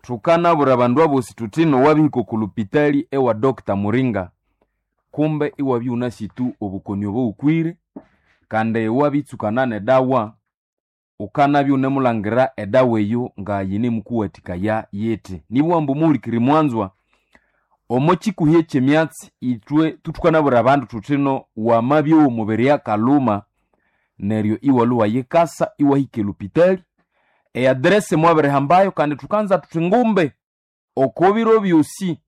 Thukanabwira abandu abosi thuthino wabihika oku lupitali ewa Dr. Muringa, kumbe iwabya iwunasi tu obukoni obo wukwire, kandi iwabitsukana nedawa, wukanabya iwunemulhangira edawa eyo nga yinemukuwathikaya yithi. Nibugha ambu muhulikiriri mwanzwa, omo kikuhi ekyemyatsi ithwe thukanabwira abandu thuthino wamabya omubiri akalhuma, neryo iwalhwa iwayikasa iwahika elupitali, eaddress mwabirihambayo, kandi thukanza thuthi ngumbe oko biro byosi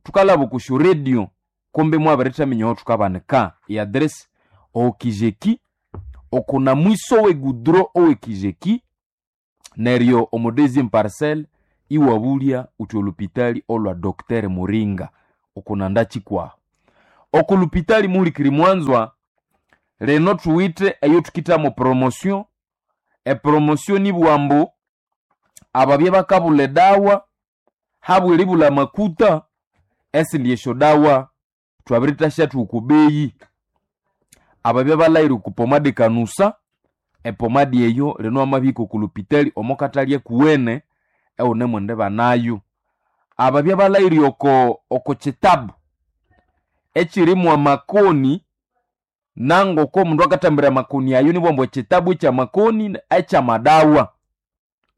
thukalhaba oko syoradio kumbe mwabirithaminya aho thukabanika. Eaddress okijeki, okuna mwiso w'egudro ow'ekijeki, neryo omo deuxième parcelle iwabulya uthi olupitali olwa Dr. Muringa okunanda kikwaho. Oko lupitali muhulikiri mwanzwa, lino thuwithe eyo thukithamo promotion. Epromotion nibugha ambu ababya bakabulha edawa habw'eribulha amakuta, esindi esyodawa thwabirithasyathwa oko beyi. Ababya balhaghire oko pomade kanusa, epomadi eyo lino wamabihika oko lupitali omo katalya kuwene ewunemwendibanayo. Ababya balhaghire oko kitabu ekirimu amakoni, nangoko omundu akathambira amakoni ayo nibugha ambu ekitabu ekyamakoni ekyamadawa,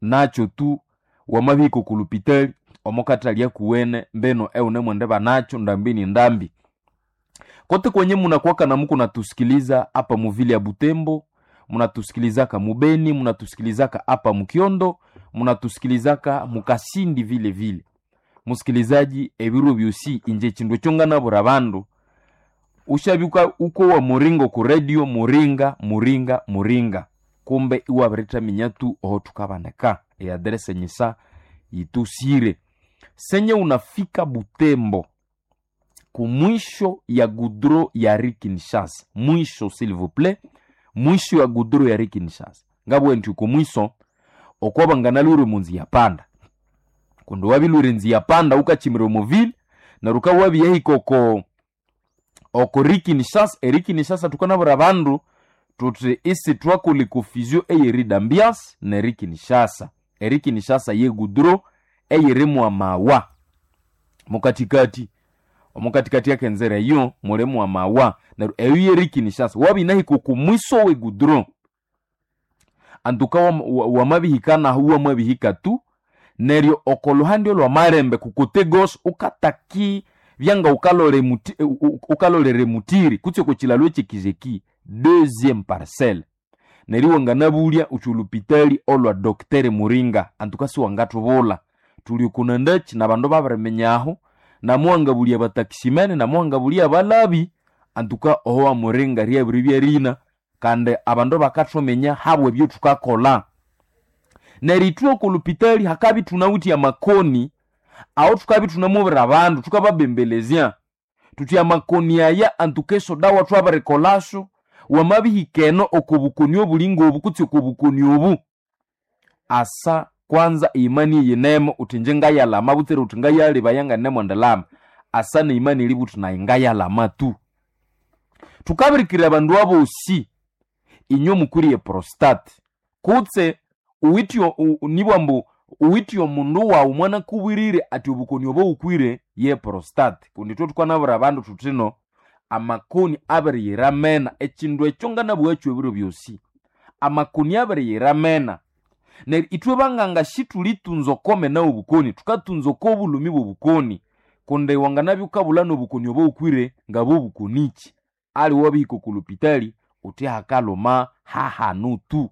nakyo tu wamabihika oko lupitali omo katalya kuwene mbino ewunemwendibanakyo ndambi ni ndambi. Kote kwenye munakuwaka na muko natusikiliza apa muvili ya Butembo, munatusikilizaka mubeni, munatusikilizaka apa mukiondo, munatusikilizaka mukasindi vile vile. Musikilizaji, ebiro byosi inje chindu ekyo nganabwira abandu, ushabyuka uko wa muringa oku radio muringa muringa muringa, kumbe iwabirithaminya tu oho thukabanika eaddress enyisa yitusire. Senye unafika Butembo kumwisho ya gudro ya Rue Kinshasa, mwisho s'il vous plaît, mwisho ya gudro ya Rue Kinshasa, ngabwe nti kumwiso okwabanganalwire omunzi ya panda, kundi wabilwire enzi ya panda ukachimira omu ville, neryo wukawabiyahika oko Rue Kinshasa. ERue Kinshasa thukanabwira abandu thuthi isithwakolha econfusion ey'erue d'Ambiance n'eRue Kinshasa. ERue Kinshasa yegudro eyirimu amawa mukathikathi, omukathikathi akenzera eyo mulimu amawa, neryo eyo y'eRue Kinshasa. Wabinahika oku mwiso w'egudro, antuka wamabihika nahu wamabihika tu, neryo oko luhande olw'amalembe ku côté gauche ukataki byanga ukalolera emutiri kutse oko kilalo ekyekizeki deuxième parcelle, neryo iwanganabulya uthi olupitali olwa Dr. Muringa, antuka siwangathubulha. Thuli okunandakyi n'abandu babiriminya aho, namuwangabulya abataximene, namuwangabulya abalabi, antuka oho wa Muringa ryabiribya rina, kandi abandu bakathuminya habwa ebyo thukakolha. Neryo ithwe oko lupitali hakabya ithunawithe amakoni, aho thukabya ithunamubwira abandu, thukababembelezya thuthi amakoni aya antuka esyodawa thwabirikolasyo, wamabihika eno oko bukoni obuli ngobu kutse oko bukoni obu, asa kwanza eimani eyinemo uthi inje ngayalama butsira uthi ngayalebaya nganemwendilama, asa neimani eribugha uthi nayi ngayalama tu. Thukabirikirira abandu abosi, inywe mukwiriye prostate, kutse uwithe nibugha ambu uwithe omundu wawu mwanakubwirire athi obukoni obo wukwire ye prostate, kundi ithwe thukanabwira abandu thuthino amakoni abiriyira amena, ekindu ekyo nganabugha ebiro byosi, amakoni abiriyira amena. Neryo ithwe banganga sithulitunza okomena w'obukoni, thukatunza oko obulhumi bw'obukoni, kundi wanganabya wukabulha n'obukoni obo wukwire ngabwobukonikyi, aliwe wabihika oko lupitali uthi hakalhuma hahanu tu,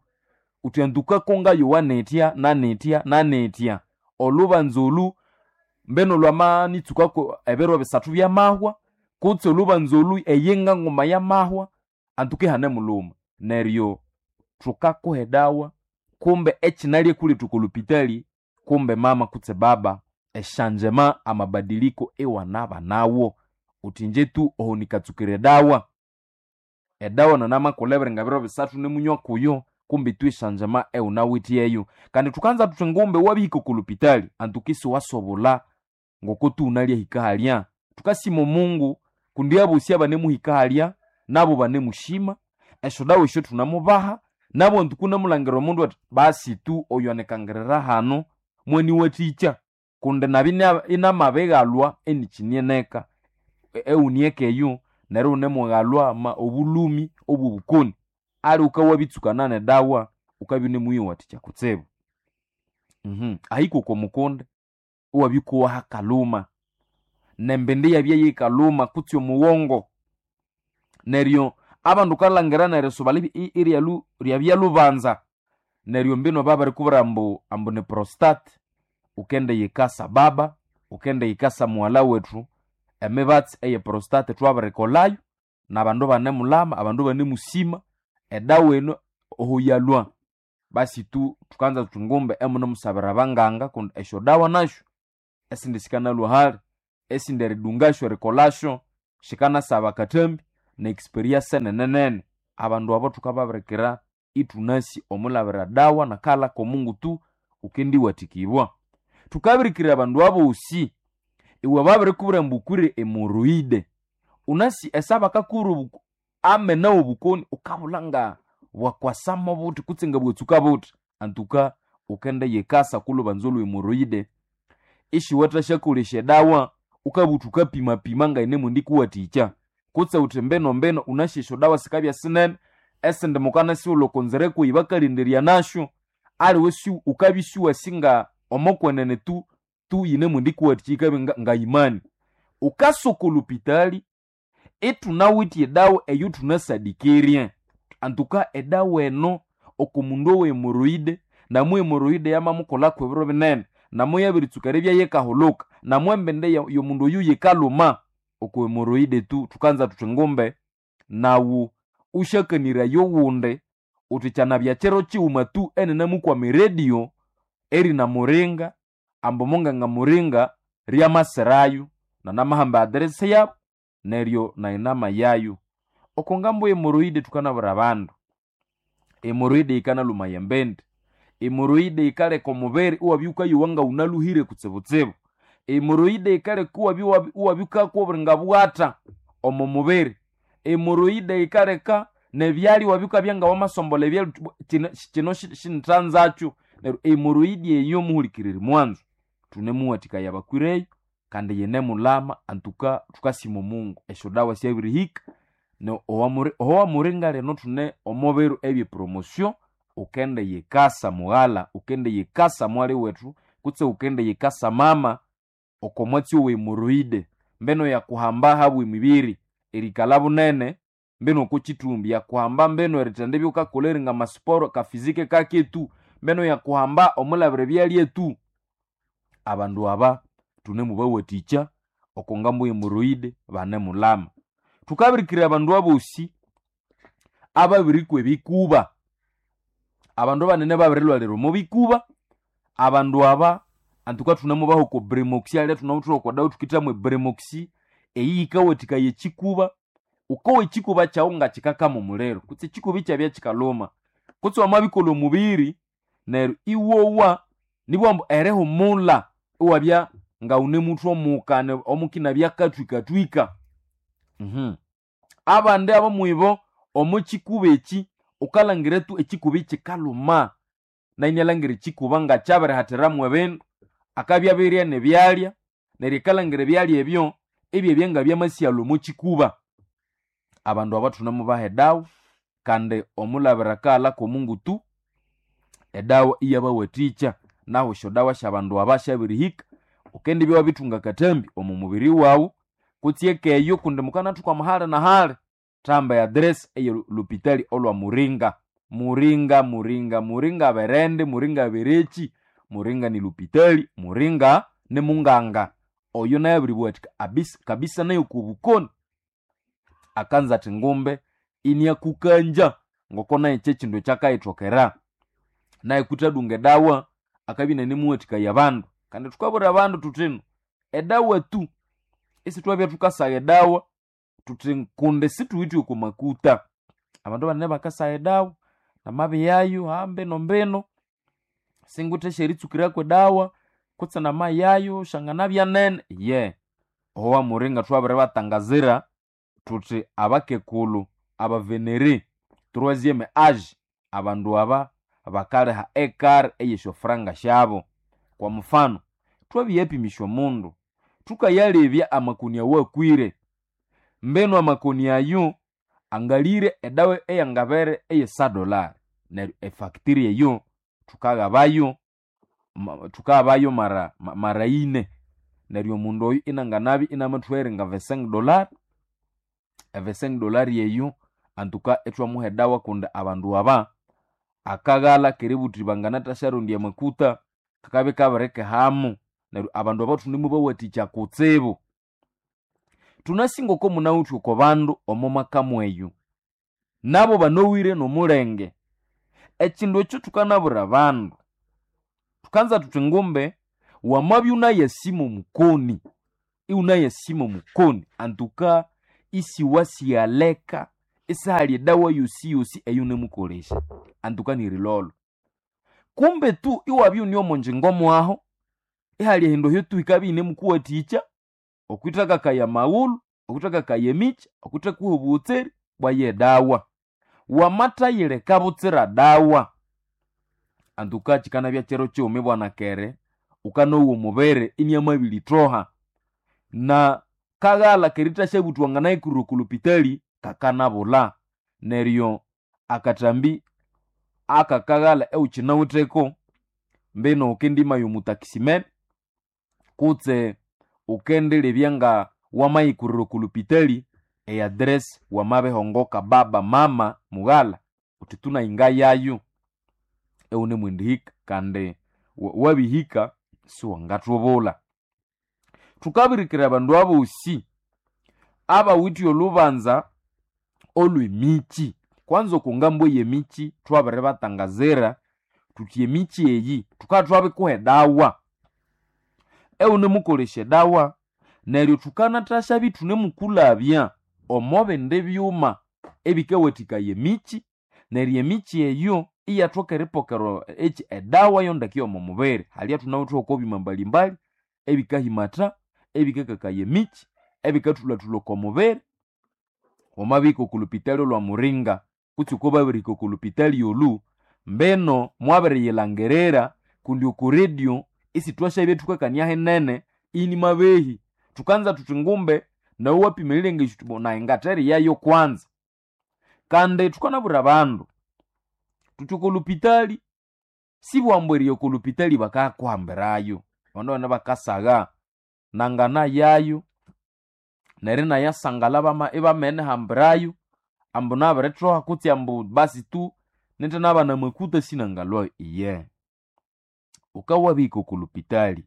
uthi antukako ngayowa nithya nanithya nanithya, olhubanza olu mbeno lwamanitsukako ebiro bisathu byamahwa, kutse olhubanza olu eyinga nguma yamahwa, antuka ihanemulhuma. Neryo thukakuha edawa, kumbe ekinalya kuletha oko lupitali, kumbe mama kutse baba, esyanjema amabadiliko iwanabanawo, uthi inje tu oho nikatsukira edawa, edawa nanamakulebere ngebiro bisathu nimunywa kuyo, kumbe tu esyanjema ewunawithe eyo. Kandi thukanza thuthi ngumbe wabihika oko lupitali antuka isiwasobulha ngoko tu wunalyahika halya. Thukasima Omungu kundi abosi abanemuhika halya nabo banemushima, esyodawa esyo thunemubaha, nabo antuka wunemulhangira omundu athi basi tu oyu anikangirira hano mwaniwathikya. Kundi nabya inamabighalwa enikyinieneka ewunieka eyo neryo iwunemughalwa obulhumi obw'obukoni. Ali wukawabitsukana nedawa wukabya iwunemuyiwathikya kutsibu. Ahika oko mukundi iwabya wukowa hakalhuma, nembindi iyabya yikalhuma kutse omughongo. Neryo abandu wukalhangira nerisuba ryabya lubanza, neryo mbino babirikubwira ambu ni prostate, wukendiyikasa baba, wukendiyikasa mughalha wethu, emibatsi eye prostate twabirikolhayo, nabandu ibanemulama, abandu ibanemusima, edawa eno oho yalhwa. Basi tu thukanza thuthi ngumbe imunemusabira abanganga kundi esyodawa nasyo esindi sikanalhwa hali, esindi eridungasyo erikolhasyo sikanasaba akathambi ne experience nene. Abandu abo thukababirikira ithunasi omulabira dawa nakalha k'Omungu tu wukendiwathikibwa. Thukabirikira abandu abosi iwe babirikubwira ambu wukwire hemorrhoid, wunasi esabakakubwira amena w'obukoni wukabulha nga bwakwasamo buthi kutse nga bwatsuka buthi. Antuka wukendiyikasa okw'olhubanza olwe hemorrhoid isiwathasyakolesya edawa wukabugha wuthi wukapimapima ngayinemwendikuwathikya. Kutse wuthi mbino mbino wunasi esyodawa sikabya sinene, esindi mukanasighulha oko nzira kweyi bakalindirya nasyo, aliwe wukabya isiwasi nga omokwenene tu tu yinemwendikuwathikya yikabya ngayimani. Wukasa oko lhupitali ithunawithe edawa eyothunasadikirirye. Antuka edawa eno oko mundu owe hemorrhoid, namu hemorrhoid yamamukolhako ebiro binene, namu yabiritsuka eribya yikahulhuka, namu embindi y'omundu oyu yikalhuma, oko hemorrhoid tu thukanza thuthi ngumbe nawu wusyakaniraya owundi wuthi kyanabya kiro kighuma tu eninamukwama eredio erina Muringa, ambu munganga Muringa ryamasirayo nanamahamba address yabu neryo nayi namayayo. Oko ngambo y'hemorrhoid thukanabwira abandu, hemorrhoid yikanalhumaya embindi, hemorrhoid yikaleka omubiri iwabya wukayowa ngawunalhuhire kutsibutsibu, hemorrhoid yikaleka iwabya wukakwa oburinga bwatha omo mubiri, hemorrhoid yikaleka nebyalya iwabya wukabya ngawamasombolha ebyalya wuthi kino sinithanzakyo. Neryo hemorrhoid eyo muhulikiriri mwanzo thunemuwathikaya abakwireyo kandi yinemulama antuka thukasima Omungu esyodawa syabirihika owamuringa lino thune omo biro ebye promotion wukendiyikasa mughalha, wukendiyikasa mwali wethu kutse wukendiyikasa mama oko mwatsi owe hemorrhoid. Mbino yakuhamba habwa emibiri erikalha bunene mbino oko kithumbi, yakuhamba mbino erithendibya wukakolha eringa amasiporo kafizike kaketu, mbino yakuhamba omulabira ebyalya tu. Abandu aba thunemubawathikya oko ngambo y'hemorrhoid banemulama. Thukabirikira abandu abosi ababirikwa ebikuba, abandu banene babirilhwalira omo bikuba, abandu aba antuka thunemubaha oko Bremoxi alya thunawithe oko dawa thukithamu eBremoxi, eyi yikawathikaya ekikuba. Wukowa ekikuba kyawu nga kikakama omuliro kutse ekikuba ikyabya kikalhuma, kutse wamabikolha omubiri neryo iwowa nibughambu ambu erihumulha iwabya ngawunemuthwa omuka omukinabya akathwikathwika. Abandi abomwibo omo kikuba eki wukalhangira tu ekikuba ikikalhuma, nayi inalhangira ekikuba ngakyabirihathiramu ebindu, akabya abirya nebyalya neryo akalhangira ebyalya ebyo ibyabya ngabyamasighalha omo kikuba. Abandu aba thunemubaha edawa kandi omulabira akaghalha k'Omungu tu edawa iyabawathikya. Nahu esyodawa syabandu aba syabirihika, wukendibya wabithunga akathambi omo mubiri wawu kutse ekeyo kundi mukanathuka hali na hali, thahamba eaddress eye lhupitali olwa Muringa. Muringa, Muringa, Muringa berende, Muringa bereki, Muringa ni lhupitali, Muringa ni munganga. Oyo naye abiribuwathika kabisa nayo okobukoni. Akanza athi ngumbe iniakukanja ngoko naye kyekindu ekyakayithokera. Naye kuthadunga edawa akabya inanimuwathikaya abandu. Kandi thukabwira abandu thuthino edawa tu isithwabya thukasagha edawa thuthi kundi sithuwithe oko makuta. Abandu banene bakasagha edawa namabiyayo mbino mbino singwithe esyeritsukirako edawa kutse namayayo syanganabya nene ye. Oho wamuringa thwabiribatangazira thuthi abakekulhu, abavenere, troisième age, abandu aba bakaliha ekari ey'esyofuranga syabo. Kwa mfano, Twabiyapimisya omundu, thukayalebya amakoni awakwire. Mbenu amakoni ayo angalire edawa eyangabere eye $100, neryo efactory eyo thukaghabayo thukaghabayo mara ine. Neryo omundu oyo inanganabya inamathuhera nga $25, $25 eyo antuka ithwamuha edawa kundi abandu aba akaghalha keributhi banganathasharondya amakuta kakabya kabirikihamo. Neryo abandu aba thunemubawathikya kutsibu. Thunasi ngoko munawithe oko bandu omo makamu eyo, nabo banowire nomulenge. Ekindu ekyo thukanabwira abandu, thukanza thuthi ngumbe wamabya unayasima omukoni, iwunayasima omukoni antuka isiwasighaleka isihali edawa yosiyosi eyunemukolesya, antuka nirilolho. Kumbe tu iwabya iwune omonjingo mwaho, ihali ehindu ehyo tu hikabya iyinemukuwathikya okwithakakaya amaghulhu, okwithakakaya emikyi, okwithakuha obughotserĩ bwaye edawa. Wamathayileka butsira dawa, antuka kyikanabya kiro kighuma ibwana kere wukanowa omubiri iniamabiritoha. Na kaghalha kerithasyabutha wanganayikurira oko lhopitali kakanabulha. Neryo akathambi akakaghalha ewukyinawitheko, mbino wukendimaya omutaximene kutse wukendilebya nga wamayikurira oko lhopitali eaddress wamabihongoka baba, mama, mughalha wuthi tu nayi ngayayo ewunemwendihika kandi wabihika siwangathubulha. Thukabirikira abandu abosi abawithe olhubanza olw'emikyi. Kwanza oko ngambo ey'emikyi thwabiribatangazira thuthi emikyi eyi thukabya thwabikuha edawa, ewunemukolesya edawa neryo thukanathasyabi ithunemukulhabya omo bindi byuma ebikawathikaya emikyi, neryo emikyi eyo iyathoka eripokera eki edawa yo ndeke y'omo mubiri. Halya thunawithe oko byuma mbalimbali ebikahimatha, ebikakakaya emikyi, ebikathulhathulha oko mubiri. Wamabihika oko lhopitali olwa Muringa kutse oko babirihika oko lhopitali olu, mbino mwabiriyilhangirira kundi oko radio isithwasyabya thukakania hinene inimabehi. Thukanza thuthi ngumbe nawe wapima erilengesya wuthi nayi ngatheriyayo kwanza. Kandi thukanabwira abandu thuthi oko lhopitali sibwambu eriya oko lhopitali bakakuhambirayo, abandu abandi bakasagha nanganayayo neryo inayasangala ibamenihambirayo ambu nabirithoha kutse ambu basi tu nithinabana amakuta sinangalwayo. Iye, wukawabihika oko lhopitali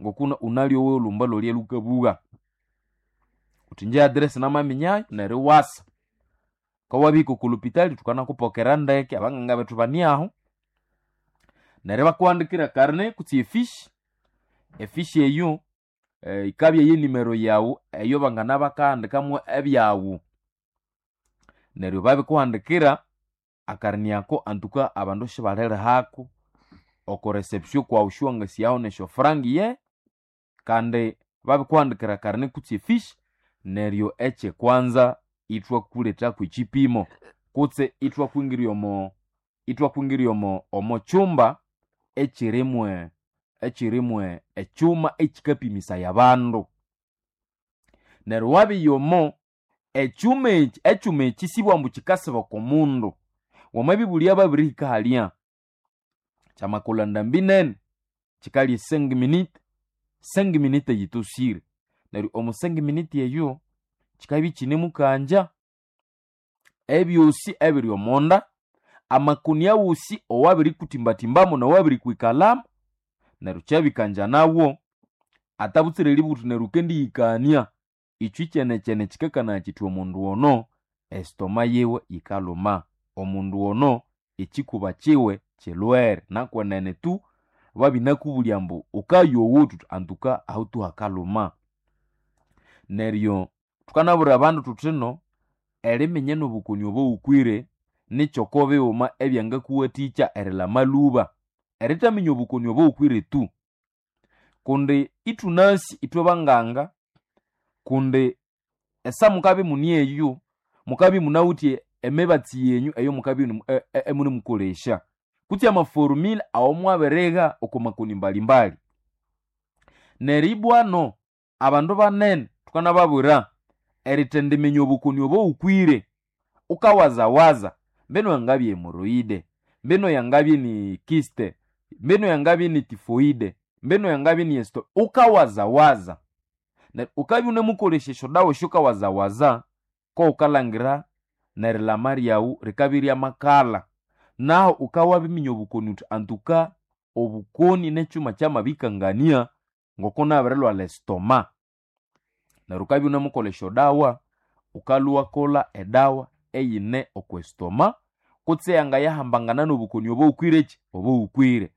ngokuna unalyowa olhumba lolya lhukabugha wuthi inje address namaminyayo neryo iwasa. Wukawabihika oko lhopitali thukanakupokera ndeke, abanganga bethu bani ahu, neryo ibakuhandikira ekarne kutse efishi, efishi eyo yikabya yenimero yawu eyo bangana bakahandikamu ebyawu. Neryo babikuhandikira akarni ako antuka abandu sibalirihako oko reception kwawu siwangasyaho nesyofuranga iye, kandi babikuhandikira akarni kutse efishi neryo ekyekwanza ithwakulethako ekyipimo kutse ithwakwingirya omo ithwakwingirya omo omo kyumba ekyirimwe ekyirimwe ekyuma ekyikapimisaya abandu. Neryo wabiya omo ekyuma eki ekyuma eki sibwambu kyikasiba oko mundu, wamabibulya babirihika halya kyamakolha ndambi nene kyikalya 5 minutes, 5 minutes yitosire. Neryo omo 5 minutes eyo kyikabya ikyinemukangya ebyosi ebiri omonda, amakoni awosi owabirikutimbatimbamu nowabirikwikalhamu, neryo kyabikangya nawo atabutsire eributhi neryo wukendiyikania ikyo kyenekyene kyikakanaya kyithi omundu ono estoma yiwe yikalhuma, omundu ono ekyikuba kyiwe kyilhwere. Nakwenene tu babinakubulya ambu wukayowa wuthi antuka ahu tu hakalhuma. Neryo thukanabwira abandu thuthino eriminya nobukoni obo wukwire nikyoko bighuma ebyangakuwathikya erilhama lhuba, erithaminya obukoni obo wukwire tu. Kundi ithunasi ithwe banganga kundi esa mukabya imune eyo, mukabya imunawithe emibatsi yenyu eyomukabya imunemukolesya kutse amaforumile awamwabirigha oko makoni mbalimbali. Neribwano abandu banene tukanababwira erithendiminya obukoni obo wukwire, ukawazawaza mbino yangabya hemoroide, mbino yangabya ni kiste, mbino yangabya ni tifoide, mbino yangabya ni esto, ukawazawaza. Neryo ukabya unemukolesya esyodawa esyokawazawaza, ko wukalangira nerilama ryawu rikabya iryamakala. Nahu ukawabiminya obukoni wuthi antuka obukoni nekyuma kyamabikangania ngoko nabirilwalha estoma. Neryo ukabya unemukolha esyodawa, wukalhwa iwakolha edawa eyine okwa estoma kutse eyangayahambangana nobukoni obo wukwire obo wukwire.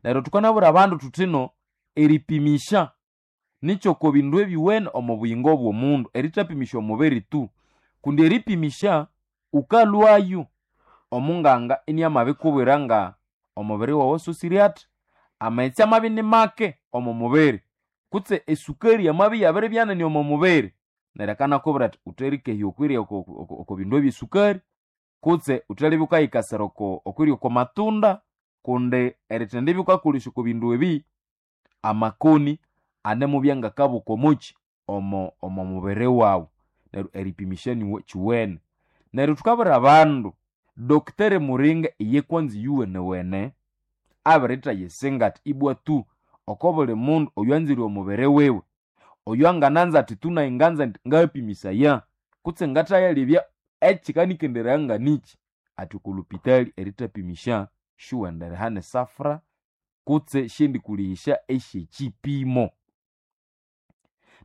Neryo thukanabwira abandu thuthino eripimisya nikyoko bindu ebiwene omo buyingo bw'omundu, erithapimisya omubiri tu. Kundi eripimisya wukalhwayo omunganga iniamabikubwira nga omubiri wawu asosire athi, amaghetse amabya ini make omo mubiri, kutse esukari yamabya iyabiribya nene omo mubiri, neryo akanakubwira athi wutherikehya okwirya oko bindu ebyesukari, kutse wuthalibya wukayikasira okwirya oko matunda, kundi erithendibya wukakolesya oko bindu ebi, amakoni anemubya ngakabuka omukyi omo mubiri wawu. Neryo eripimisya kyuwene. Neryo thukabwira abandu, Dr Muringa iye kwanza iyuwenewene abirithayisinga athi ibwa tu oko buli mundu oywanzire omubiri wiwe, oyo angananza athi tu nayi nganza indi ngayapimisaya kutse ngathayalebya ekikanikenderaya nganikyi, athi oko lupitali erithapimisya siwenderiha nesafra kutse syendikulihisya esyekyipimo.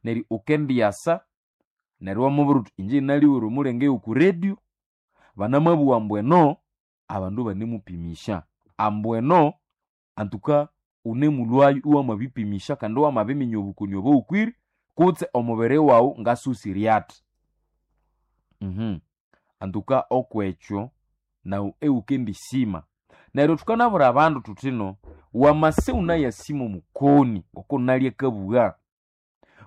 Neryo wukendyasa neryo iwamubwira wuthi inje naliwere omulenge yoku radio, banamabugha ambu eno abandu banemupimisya, ambu eno antuka wunemulhwayo iwamabipimisya kandi iwamabiminya obukoni obo wukwire kutse omubiri wawu ngasosire athi. Antuka okwekyo nawu iwukendisima. Neryo thukanabwira abandu thuthino wamasa iwunayasima omukoni ngoko nalya akabugha,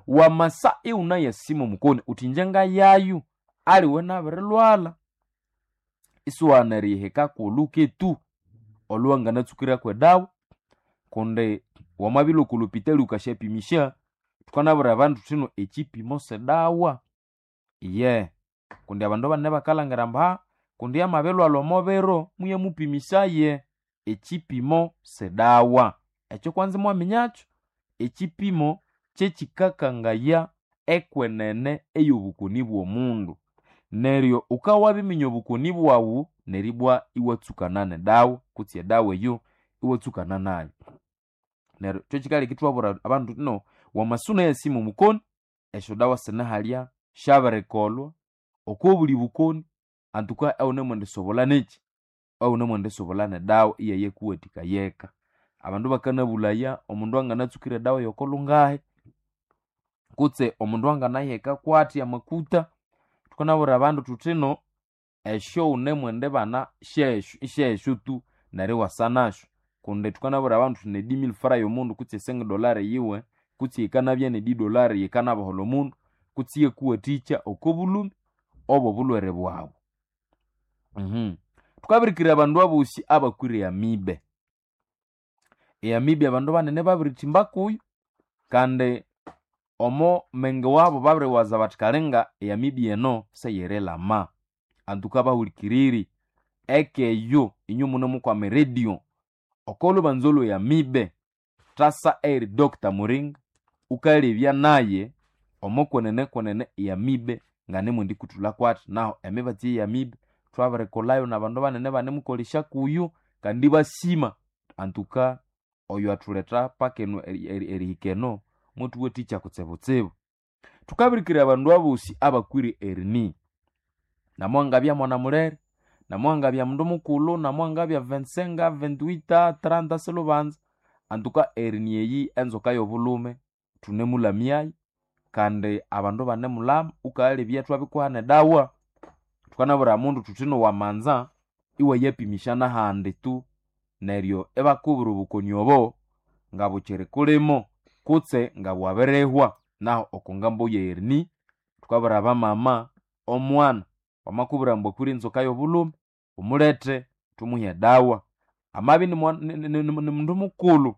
wamasa iwunayasima omukoni wuthi inje ngayayo aliwe nabirilhwalha, isiwaghana erihika kwolhuke tu olhuwanganatsukirako edawa, kundi wamabilhwa oko lupitali wukasyapimisya, thukanabwira abandu thuthino ekyipimo sidawa, iye kundi abandu banene bakalhangira ambu kundi amabilhwalha omo biro muyamupimisaye. Ekyipimo sidawa, ekyo kwanza imwaminyakyo. Ekyipimo kyekikakangaya ekwenene ey'obukoni bw'omundu. Neryo wukawabiminya obukoni bwawu neribwa iwatsukana nedawa kutse edawa eyo iwatsukana nayo. Neryo kyokikaleka ithwabwira abandu thuthi no wamasa iwunayasima omukoni, esyodawa sinihalya, syabirikolhwa oko buli bukoni antuka ewunemwendisobolha nekyi, ewunemwendisobolha nedawa iyayakuwathikayeka. Abandu bakanabulhaya omundu anganatsukira edawa yokolhungahi, kutse omundu anganaheka kwathi amakuta. Thukanabwira abandu thuthino esyo wunemwendibana syesyo isyesyo tu neryo iwasa nasyo, kundi thukanabwira abandu thuthi ne 10000 fra yomundu kutse e 5$ yiwe, kutse yikanabya ne 10$ yikanabaholha omundu, kutse iyakuwathikya oko bulhumi obw'obulhwere bwawu. Thukabirikirira abandu abosi abakwire amibe. Eamibe abandu banene babirithimba kuyo, kandi omo menge wabo babiriwaza bathi kalinga eamibe eno seyirilama. Antuka bahulikiriri, ekeyo inywe munemukwama eradio, oko lhubanza olwe amibe, thasa eyiri Dr Muringa, wukalebya naye omo kwenene kwenene eamibe nganemwendikuthulha kwathi. Nahu emibatsi eye amibe thwabirikolhayo nabandu banene banemukolesya kuyo kandi ibasima antuka oyo athuletha paka eno erihika eno mwathuwathikya kutsibutsibu. Thukabirikirira abandu abosi abakwire erini, namwangabya mwana mulere, namwangabya mundu mukulhu, namwangabya 25, 28, 30 silhubanza, antuka erini eyi enzoka y'obulhume thunemulamyayo kandi abandu banemulama, wukalebya thwabikuha nedawa. Thukanabwira omundu thuthino wamanza iwayapimisya nahandi tu, neryo ibakubwira obukoni obo ngabukyiri kulimo kutse ngabwabirihwa. Nahu oko ngambo ye erini thukabwira abamama, omwana wamakubwira ambu akwire enzoka y'obulhume, wumulethe thumuhe edawa. Amabya ni mundu mukulhu,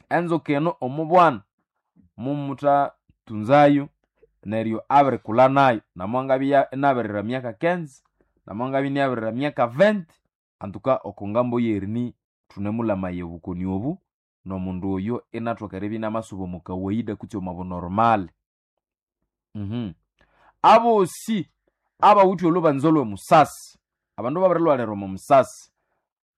Enzuka eno omubwana mumuthatunzayo neryo abirikulha nayo namwangabya inabirira myaka 15 namwangabya inabirira myaka 20 antuka oko ngambo yerini thunemulamaya obukoni obu nomundu oyo inathoka eribya inamasuba omu kawaida kutse omu bunormal. Abosi abawithe olhubanza olhw'omusasi, abandu babirilhwalira omo musasi,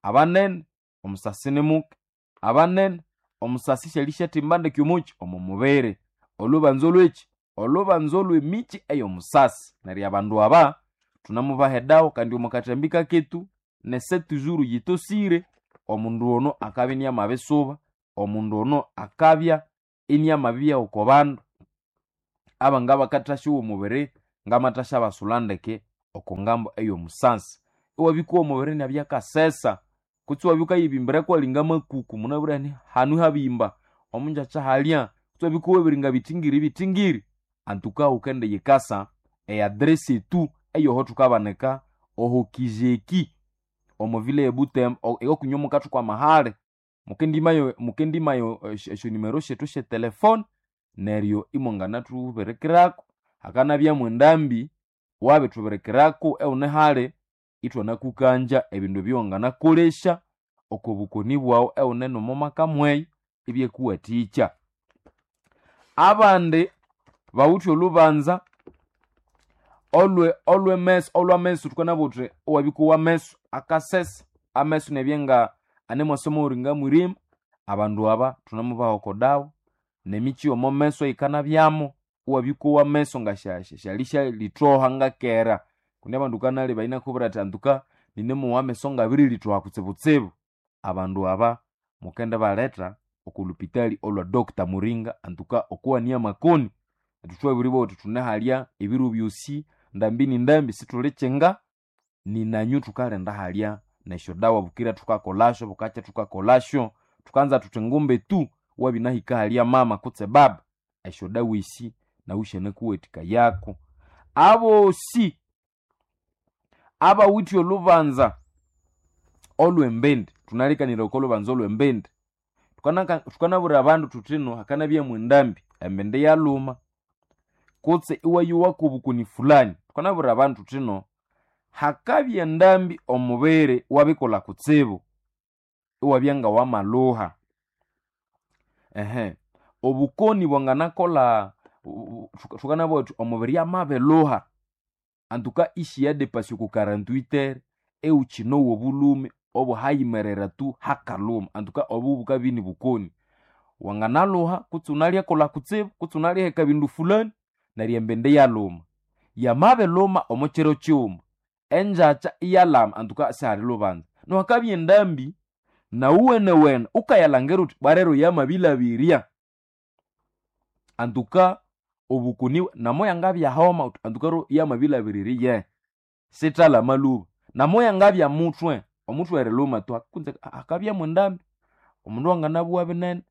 abanene omusasi nimuke, abanene omusasi syalisyathimba ndeke omuki omo mubiri. Olhubanza olhweki? Olhubanza olhw'emikyi ey'omusasi. Neryo abandu aba thunemubaha edawa kandi omo kathambi kaketu ne sept jours yitosire, omundu ono akabya iniamabisuba, omundu ono akabya iniamabibya oko bandu abanga bakathasyawa omubiri ngamathasyabasulha ndeke oko ngambo ey'omusasi. Iwabya omubiri inabya akasesa kutse iwabya wukayibimbira kwalinga makuku munabwire indi hanu habimba, omungyakya halya, kutse iwabya wukawabiringa bithingiri bithingiri, antuka wukendiyikasa e address etu eyoho thukabanika oho Kijeki omo vile e Butembo eyokunywa mukathuka amahali mukendimayo mukendimayo esyonimero syethu syetelefone neryo imwanganathubirikirako. Hakanabyamu endambi wabithubirikirako ewune hali ithwanakukangya ebindu ebyawanganakolesya oko bukoni bwawu ewune nomo maka mweyo ibyakuwathikya. Abandi bawithe olhubanza olhw'emeso olhw'ameso thukanabugha thuthi iwabya ameso akasesa, ameso inabya nga anemwasa omughulhu ngamwirima, abandu aba thunemubaha oko dawa nemikyi y'omo meso eyikanabyamo, iwabya wukowa ameso nga syalisyalithoha ngakera. Kundi abandu wukanalebaya inakubwira athi antuka ninemowa ameso ngabirilithoha kutsibutsibu. Abandu aba mukendibaletha oko lupitali olhwa Doctor Muringa antuka okowania amakoni. Ithwe thwabiribugha thuthi thunehalya ebiro byosi ndambi ni ndambi sithulikyinga ninanyu thukalinda halya nesyodawa bukira thukakolasyo bukakya thukakolasyo. Thukanza thuthi ngumbe tu wabya inahika halya mama kutse baba, esyodawa esi nawu syanakuwathikayako. Abosi abawithe olhubanza olhw'embindi, thunalikaniraya oko lhubanza olhw'embindi, thukanabwira abandu thuthino hakanabyamu endambi, embindi yalhuma kutse iwayowa kobukoni fulani, thukanabwira abandu thuthino hakabya endambi omubiri wabikolha kutsibu iwabya ngawamalhuha. Obukoni bwanganakolha thukanabugha thuthi omubiri amabilhuha antuka isiyadepasa oko 48 ewukyinowa obulhume obuhayimerera tu hakalhuma antuka obu bukabya inibukoni. Wanganalhuha kutse wunalyakolha kutsibu kutse wunalyaheka bindu fulani neryo embindi iyalhuma. Yamabilhuma omo kiro kighuma engyakya iyalhama antuka sihali lhubanza. Nuhu hakabya endambi nawuwenewene wukayalhangira wuthi bwalero yamabilhabirya antuka obukoni namoyangabya homa wuthi antuka yamabilhabirira iyehe sithalhama lhuba. Namoyangabya muthwe, omuthwe erilhuma tu kunze hakabyamu endambi omundu anganabugha binene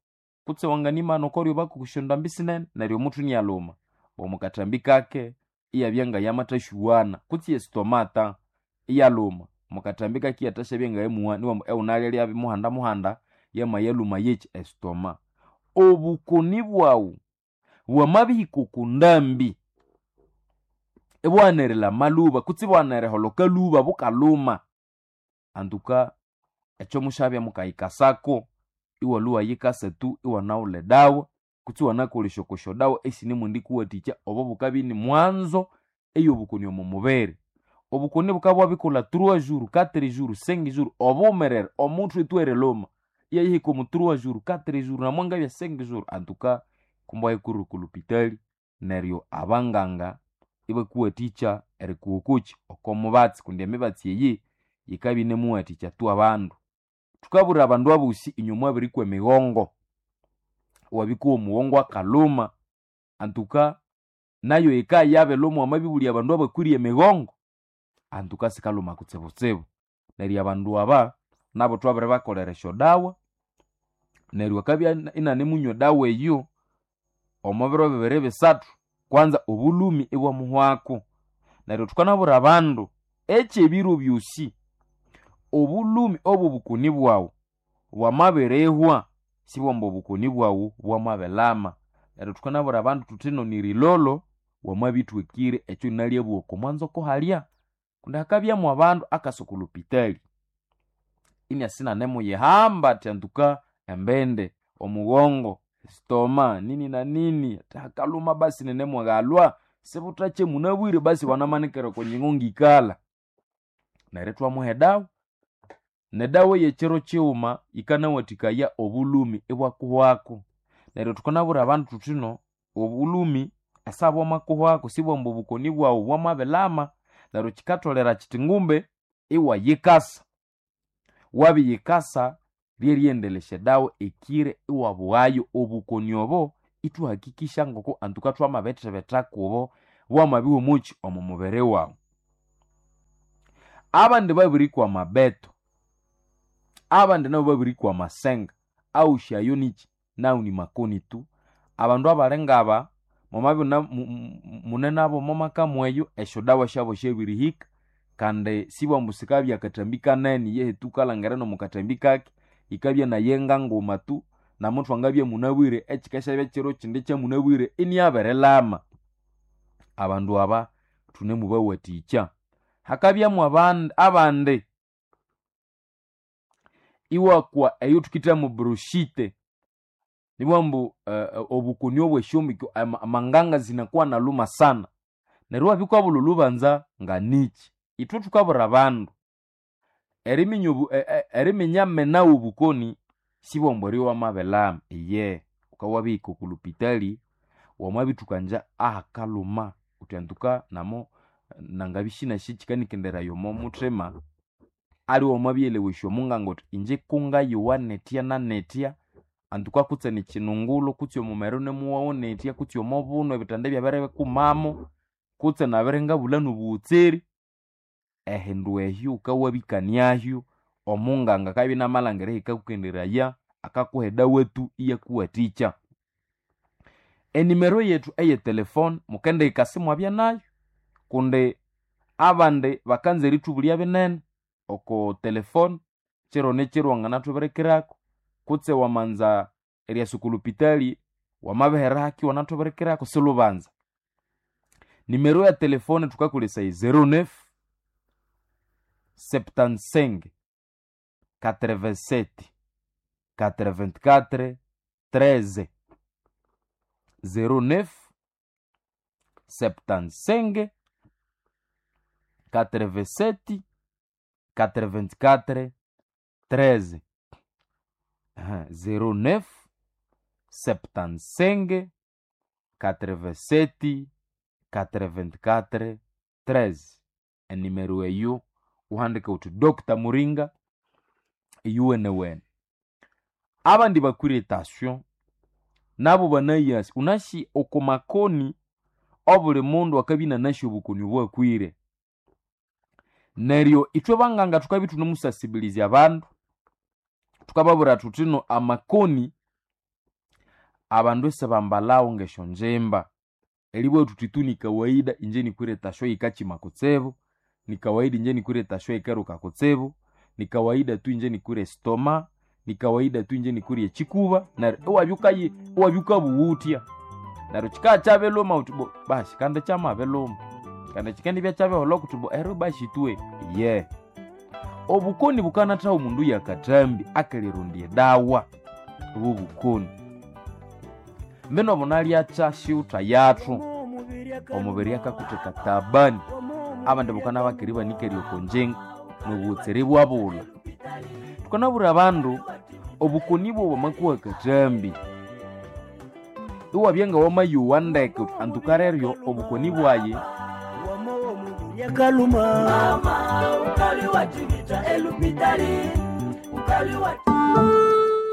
kutse wanganimana okoryoba kusyondambi sinene neryo omuthwe inalhuma. Omo kathambi kake iyabya ngayamathasyowana kutse estomata iyalhuma omo kathambi kake iyathasyabya ngayamuwa niwambu ewunalya muhanda muhanda yamayalhuma yekyi estoma. Obukoni bwawu bwamabihika oko ndambi ibwaghana erilhama lhuba kutse ibwaghana eriholoka lhuba bukalhuma, antuka ekyo musyabya mukayikasako iwalhwa iwayikasa tu iwanaghulha edawa kutse iwanakolesya oko syodawa esinemwendikuwathikya obo bukabya inimwanzo ey'obukoni omo mubiri. Obukoni bukabya bwabikolha 3 jours, 4 jours, 5 jours obumerere omuthwe tu erilhuma iyayihika omo 3 jours, 4 jours namwangabya 5 jours antuka kumbe wayikurira oko lupitali neryo abanganga ibakuwathikya erikuha okokyi oko mubatsi kundi emibatsi eyi yikabya inemuwathikya tu abandu. Thukabwira abandu abosi inywe mwabirikwa emighongo, iwabya omughongo akalhuma antuka nayo yikayabirilhuma wamabibulya abandu abakwire emighongo antuka sikalhuma kutsibutsibu. Neryo abandu aba nabo thwabiribakolera esyodawa neryo akabya inanemunywa edawa eyo omo biro bibiri bisathu kwanza obulhumi ibwamuhwako. Neryo thukanabwira abandu ekyebiro byosi obulhumi obw'obukoni bwawu bwamabirihwa. Sibwamba obukoni bwawu bwamabelama. Neryo thukanabwira abandu thuthino nirilolo wamabithwekire ekyo nalyabugha oko mwanzoko halya. Kundi hakabyamu abandu akasa oko lupitali iniasinanimuyihamba athi antuka embindi, omughongo, stoma, nini na nini, athi hakaluma basi ninemwaghalwa sibuthache munabwire basi wanamanikira oko nyingo ngikalha. Neryo ithwamuha edawa, nedawa ey'ekiro kighuma yikanawathikaya obulhumi ibwakuhwako. Neryo thukanabwira abandu thuthino obulhumi esabwamakuhwako sibwamba obukoni bwawu bwamabilama. Neryo kikatholera kiti ngumbe iwayikasa. Wabiyikasa lyerighendelesya edawa ekire iwabughayo obukoni obo ithwahakikisya ngoko antuka thwamabithibitha kubo bwamabihwa omukyi omo mubiri wawu. Abandi babirikwa amabeto, abandi nabo babirikwa amasenga, awusi ayo nikyi? Nawu ni makoni tu. Abandu abali ngaba mwamabya mune nabo omo maka mweyo esyodawa syabo syabirihika kandi sibwambu sikabya akathambi kanene yehe tu wukalhangira nomo kathambi kake yikabya nayenga nguma tu namuthu angabya munabwire ekikasyabya kiro kindi kyamunabwire iniabirilama. Abandu aba thunemubawathikya. Hakabyamu abandi iwakwa eyo thukithamu brushite nibwambu obukoni obwesyombiko amanganga zinakuwa naluma sana. Neryo iwabya wukabulha olhubanza nganikyi. Ithwe thukabwira abandu eriminya menawu obukoni sibwambu eryo wamabilama iye wukabya wabihika oko lupitali wamabithukangya ahakalhuma wuthi antuka namo nangabya sinasi kyikanikenderaya omo muthima aliwe wamabyelewesya omunganga wuthi inje kungayowa nithya na nithya antuka kutse nikyinungulho kutse omumere inemuwawu nithya kutse omo buno ebithanda ibyabirikumamo kutse nabiringabulha nobughutseeri. Ehindu ehyo wukawabikaniahyo omunganga akabya inamalhangira ehikakukenderaya akakuha edawa tu iyakuwathikya. Enimero yethu eye telefone mukendihika simwabya nayo kundi abandi bakanza erithubulya binene oko telefone kiro nikiro wanganathubirikirako kutse wamanza eryasa oko lupitali wamabihera haki iwanathubirikirako silhubanza. Nimero ya telefone thukakolesaya 09 75 87 84 13 09 75 87 84 13 09 75 87 84 13 enimero eyo wuhandike wuthi Dr. Muringa eyuwenewene. Abandi bakwire etasyo nabo banayasi wunasi oko makoni obuli mundu akabya inanasi obukoni obwakwire. Neryo ithwe banganga thukabya ithunemusasibilizya abandu thukababwira thuthino amakoni abandu isibambalhawo ngesyonjimba. Eribugha thuthi tu ni kawaida inje nikwire etasyo yikakyima kutsibu, ni kawaida inje nikwire etasyo yikeruka kutsibu, ni kawaida tu inje nikwire estoma, ni kawaida tu inje nikwire ekyikuba neryo iwabya iwabya wukabughutya. Neryo kikabya kyabilhuma wuthi bo basi kandi kyamabilhuma kandi kyikendibya kyabiholha kuti bo ero basi twe iye. Obukoni bukanathaha omundu yakatambi akalirondya edawa obwo bukoni. Mbino bunalyakya syutha yathu omubiri akakutheka tabani. Abandi bukana bakiri ibanikere oko ngyingo nobughutseere ibwabulha. Thukanabwira abandu obukoni bwobu bwamakuha akatambi iwabya ngawamayowa ndeke wuthi antuka reryo obukoni bwayi.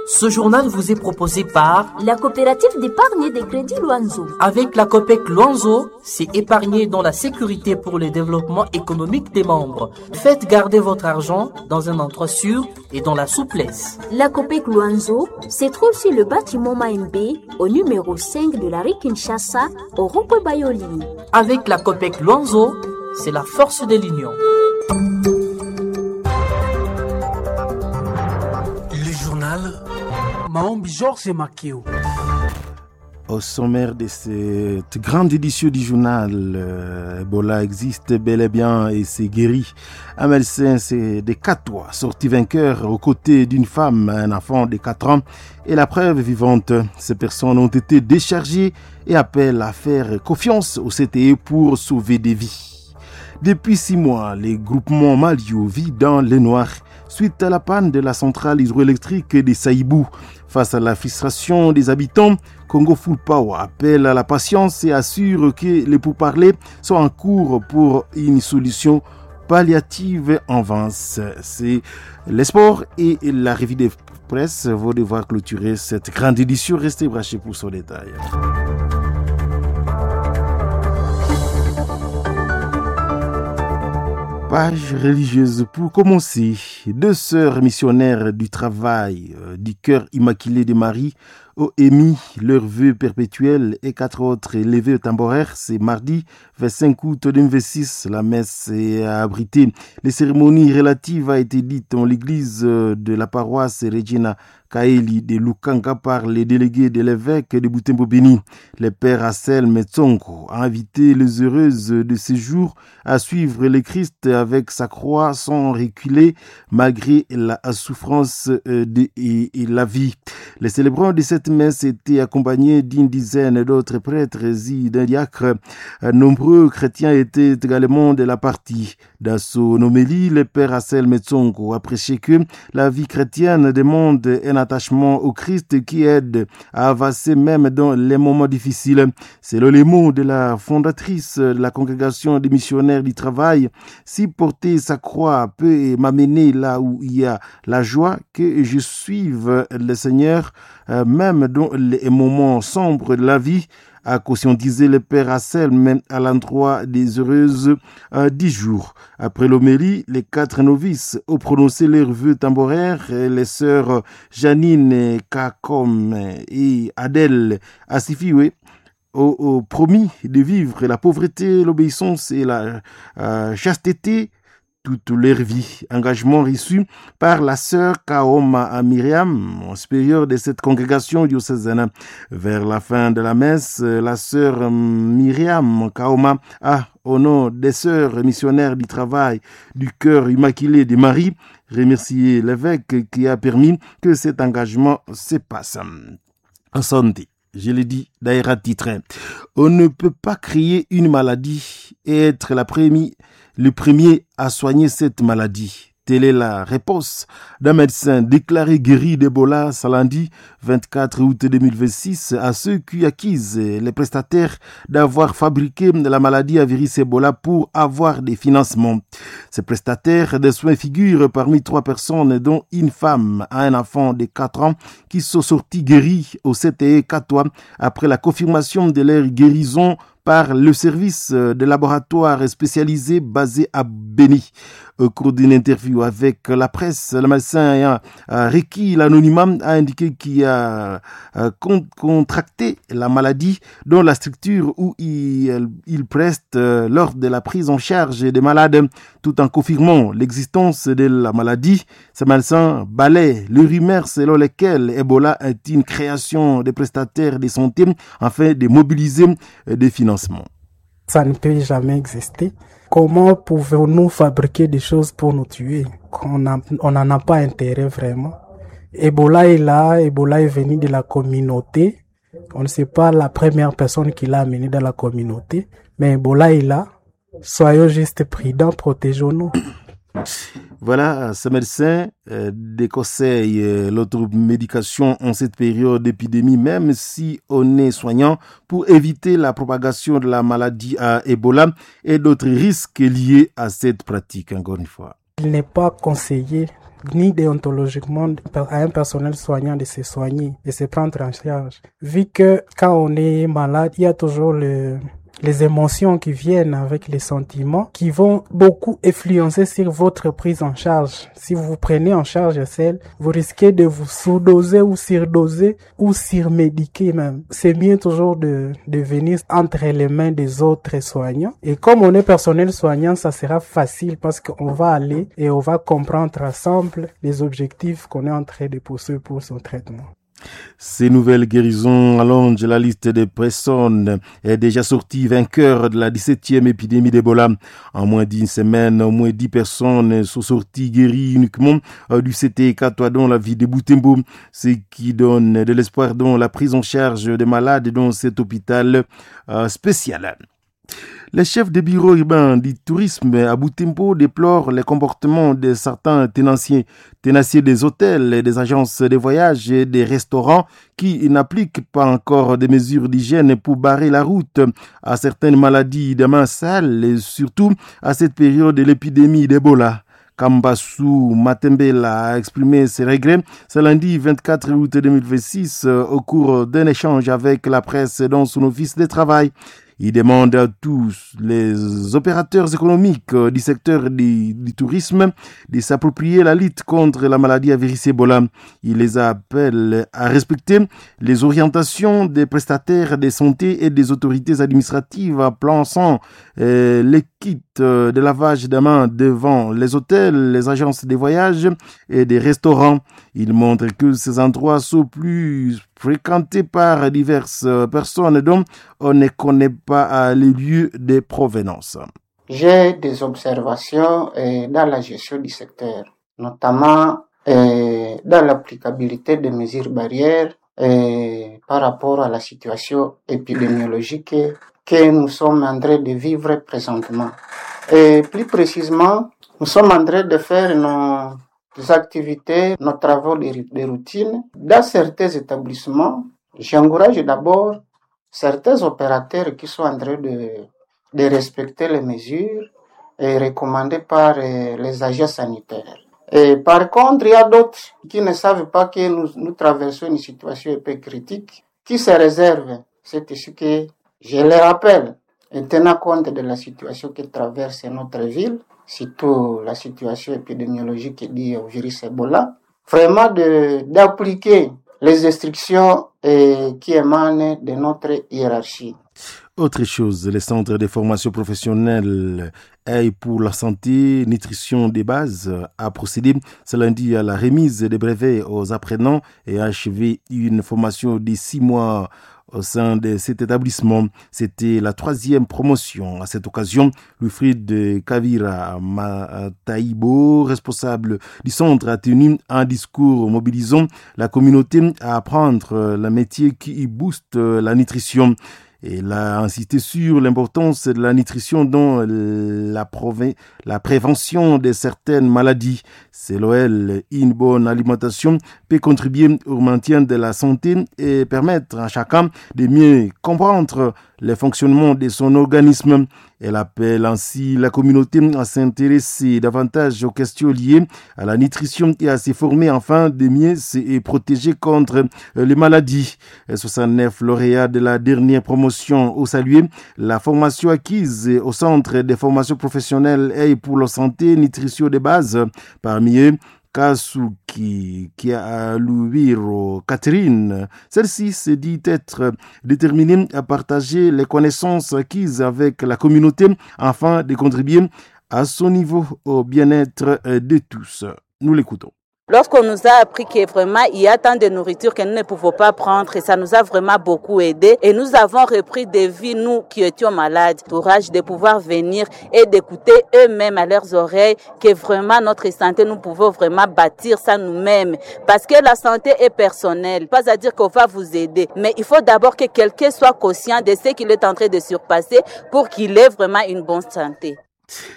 Ce journal vous est proposé par la coopérative d'épargne et de crédit Luanzo. Avec la COPEC Luanzo, c'est épargner dans la sécurité pour le développement économique des membres. Faites garder votre argent dans un endroit sûr et dans la souplesse. La COPEC Luanzo se trouve sur le bâtiment Maembe, au numéro 5 de la rue Kinshasa, au rond-point Bayoli. Avec la COPEC Luanzo, c'est la force de l'union. Le journal Maombi Georges Makeo. Au sommaire de cette grande édition du journal, Ebola existe bel et bien et s'est guéri. Un médecin c'est de Katwa, sorti vainqueur aux côtés d'une femme, un enfant de 4 ans et la preuve vivante. Ces personnes ont été déchargées et appellent à faire confiance au CTE pour sauver des vies. Depuis 6 mois, les groupements Malio vit dans le noir suite à la panne de la centrale hydroélectrique de Saïbou. Face à la frustration des habitants, Congo Full Power appelle à la patience et assure que les pourparlers sont en cours pour une solution palliative en avance. C'est les sports et la revue des presse vont devoir clôturer cette grande édition. Restez branchés pour son détail. Page religieuse pour commencer. Deux sœurs missionnaires du travail du cœur immaculé de Marie ont émis leur vœu perpétuel et quatre autres les vœux temporaires. C'est mardi 25 août 2026. La messe est abritée. Les cérémonies relatives a été dite en l'église de la paroisse Regina Caeli de Lukanga par les délégués de l'évêque de Butembo-Beni. Le père Assel Metsongo a invité les heureuses de ce jour à suivre le Christ avec sa croix sans reculer malgré la souffrance et la vie. Les célébrants de cette messe étaient accompagnés d'une dizaine d'autres prêtres et d'un diacre. Nombreux chrétiens étaient également de la partie. Dans son homélie, le père Assel Metsongo a prêché que la vie chrétienne demande un attachement au Christ qui aide à avancer même dans les moments difficiles. C'est le mot de la fondatrice de la congrégation des missionnaires du travail. Si porter sa croix peut m'amener là où il y a la joie, que je suive le Seigneur, même dans les moments sombres de la vie, a conscientisé le père Assel à l'endroit des heureuses 10 jours. Après l'homélie, les quatre novices ont prononcé leurs vœux temporaires. Les sœurs Janine Kakom et Adèle Asifiwe ont promis de vivre la pauvreté, l'obéissance et la chasteté toute leur vie. Engagement reçu par la sœur Kaoma Myriam, supérieure de cette congrégation diocésaine. Vers la fin de la messe, la sœur Myriam Kaoma a, au nom des sœurs missionnaires du travail du cœur immaculé de Marie, remercié l'évêque qui a permis que cet engagement se passe. En santé. Je l'ai dit d'ailleurs à titre. On ne peut pas créer une maladie et être le premier à soigner cette maladie. Telle est la réponse d'un médecin déclaré guéri d'Ebola ce lundi 24 août 2026 à ceux qui accusent les prestataires d'avoir fabriqué la maladie à virus Ebola pour avoir des financements. Ces prestataires de soins figurent parmi trois personnes dont une femme à un enfant de 4 ans qui sont sortis guéris au CTE Katwa après la confirmation de leur guérison par le service de laboratoire spécialisé basé à Beni. Au cours d'une interview avec la presse, le médecin ayant requis l'anonymat a indiqué qu'il a contracté la maladie dans la structure où il preste lors de la prise en charge des malades, tout en confirmant l'existence de la maladie. Ce médecin balaie le rumeur selon lesquelles Ebola est une création des prestataires de santé afin de mobiliser des financements. Ça ne peut jamais exister. Comment pouvons-nous fabriquer des choses pour nous tuer? On n'en a pas intérêt vraiment. Ebola est là, Ebola est venu de la communauté. On ne sait pas la première personne qui l'a amené dans la communauté, mais Ebola est là. Soyons juste prudents, protégeons-nous. Voilà, ce médecin déconseille l'automédication en cette période d'épidémie, même si on est soignant, pour éviter la propagation de la maladie à Ebola et d'autres risques liés à cette pratique, encore une fois. Il n'est pas conseillé ni déontologiquement à un personnel soignant de se soigner, de se prendre en charge. Vu que quand on est malade, il y a toujours les émotions qui viennent avec les sentiments qui vont beaucoup influencer sur votre prise en charge. Si vous vous prenez en charge seul, vous risquez de vous sous-doser ou surdoser ou surmédiquer même. C'est mieux toujours de venir entre les mains des autres soignants. Et comme on est personnel soignant, ça sera facile parce qu'on va aller et on va comprendre ensemble les objectifs qu'on est en train de poursuivre pour son traitement. Ces nouvelles guérisons allongent la liste des personnes est déjà sortie vainqueur de la 17e épidémie d'Ebola. En moins d'une semaine, au moins 10 personnes sont sorties guéries uniquement du CT4 dans la ville de Butembo, ce qui donne de l'espoir dans la prise en charge des malades dans cet hôpital spécial. Les chefs des bureaux urbains du tourisme à Butembo déplorent les comportements de certains tenanciers des hôtels, des agences de voyage et des restaurants qui n'appliquent pas encore des mesures d'hygiène pour barrer la route à certaines maladies des mains sales et surtout à cette période de l'épidémie d'Ebola. Kambasu Matembela a exprimé ses regrets ce lundi 24 août 2026 au cours d'un échange avec la presse dans son office de travail. Il demande à tous les opérateurs économiques du secteur du tourisme de s'approprier la lutte contre la maladie à virus Ebola. Il les appelle à respecter les orientations des prestataires de santé et des autorités administratives en plaçant les kits de lavage des mains devant les hôtels, les agences de voyage et des restaurants. Il montre que ces endroits sont plus fréquentés par diverses personnes dont on ne connaît pas les lieux de provenance. J'ai des observations dans la gestion du secteur, notamment dans l'applicabilité des mesures barrières par rapport à la situation épidémiologique que nous sommes en train de vivre présentement. Et plus précisément, nous sommes en train de faire nos activités, nos travaux de routine. Dans certains établissements, j'encourage d'abord certains opérateurs qui sont en train de respecter les mesures recommandées par les agents sanitaires. Et par contre, il y a d'autres qui ne savent pas que nous traversons une situation un peu critique, qui se réservent. C'est ce que je les rappelle, en tenant compte de la situation que traverse notre ville, surtout la situation épidémiologique liée au virus Ebola, vraiment d'appliquer les instructions qui émanent de notre hiérarchie. Autre chose, les centres de formation professionnelle et pour la santé, nutrition des bases a procédé ce lundi à la remise des brevets aux apprenants et a achevé une formation de 6 mois au sein de cet établissement. C'était la 3e promotion. À cette occasion, Wilfried Kavira Mataïbo, responsable du centre, a tenu un discours mobilisant la communauté à apprendre le métier qui booste la nutrition. Il a insisté sur l'importance de la nutrition dans la prévention de certaines maladies. Selon elle, une bonne alimentation peut contribuer au maintien de la santé et permettre à chacun de mieux comprendre le fonctionnement de son organisme. Elle appelle ainsi la communauté à s'intéresser davantage aux questions liées à la nutrition et à se former afin de mieux se protéger contre les maladies. 69 lauréats de la dernière promotion ont salué la formation acquise au centre des formations professionnelles et pour la santé, nutrition de base. Parmi eux, Kasuki Kialuwiro Catherine. Celle-ci se dit être déterminée à partager les connaissances acquises avec la communauté afin de contribuer à son niveau au bien-être de tous. Nous l'écoutons. Lorsqu'on nous a appris que vraiment il y a tant de nourriture que nous ne pouvons pas prendre, et ça nous a vraiment beaucoup aidé. Et nous avons repris des vies, nous qui étions malades, courage de pouvoir venir et d'écouter eux-mêmes à leurs oreilles que vraiment notre santé, nous pouvons vraiment bâtir ça nous-mêmes. Parce que la santé est personnelle, pas à dire qu'on va vous aider, mais il faut d'abord que quelqu'un soit conscient de ce qu'il est en train de surpasser pour qu'il ait vraiment une bonne santé.